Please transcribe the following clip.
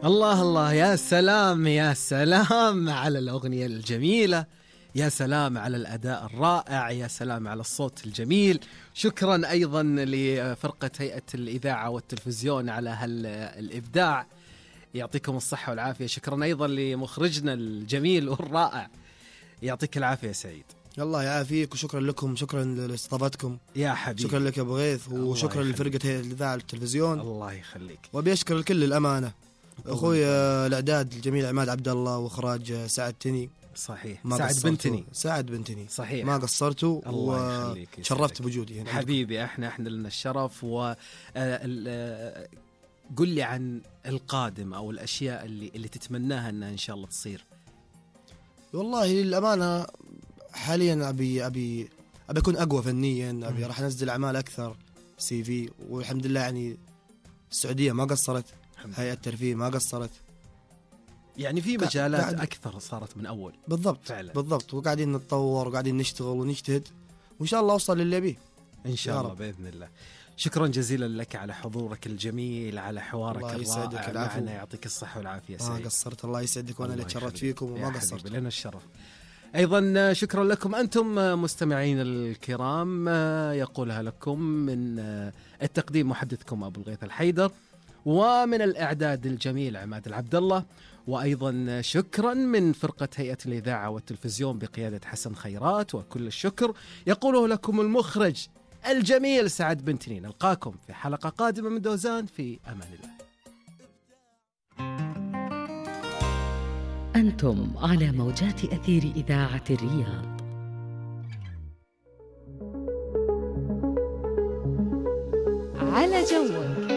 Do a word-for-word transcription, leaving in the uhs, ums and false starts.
الله الله، يا سلام يا سلام على الأغنية الجميلة، يا سلام على الأداء الرائع، يا سلام على الصوت الجميل. شكرا أيضا لفرقة هيئة الإذاعة والتلفزيون على هالإبداع، يعطيكم الصحة والعافية. شكرا أيضا لمخرجنا الجميل والرائع، يعطيك العافية يا سعيد. الله يعافيك، وشكرا لكم، شكرا لاستضافتكم يا حبيبي. شكرا لك يا أبو غيث، وشكرا لفرقة هيئة الإذاعة والتلفزيون. الله يخليك. وأبي أشكر الكل الأمانة، أخوي الإعداد الجميل عماد عبد الله، وإخراج سعد تني. صحيح، سعد بنتني. سعد بنتني صحيح، ما قصرتوا، وشرفت بوجودي هنا حبيبي. احنا احنا لنا الشرف. و قل لي عن القادم او الاشياء اللي اللي تتمناها انها ان شاء الله تصير. والله للامانه حاليا ابي ابي ابي اكون اقوى فنيا، ابي راح انزل اعمال اكثر سي في، والحمد لله يعني السعوديه ما قصرت، هيئه الترفيه ما قصرت، يعني في مجالات أكثر صارت من أول. بالضبط فعلا. بالضبط، وقاعدين نتطور وقاعدين نشتغل ونجتهد، وإن شاء الله أوصل للي أبيه إن شاء الله بإذن الله. شكرا جزيلا لك على حضورك الجميل، على حوارك الرائع معنا، يعطيك الصحة والعافية سعيد. ما قصرت، الله يسعدك، وأنا اللي تشرفت فيكم وما قصرت. لنا الشرف. أيضا شكرا لكم أنتم مستمعين الكرام، يقولها لكم من التقديم محدثكم أبو الغيث الحيدر، ومن الإعداد الجميل عماد العبد الله، وأيضا شكرا من فرقة هيئة الإذاعة والتلفزيون بقيادة حسن خيرات، وكل الشكر يقوله لكم المخرج الجميل سعد بنتني. نلقاكم في حلقة قادمة من دوزان، في أمان الله. أنتم على موجات أثير إذاعة الرياض. على جوك.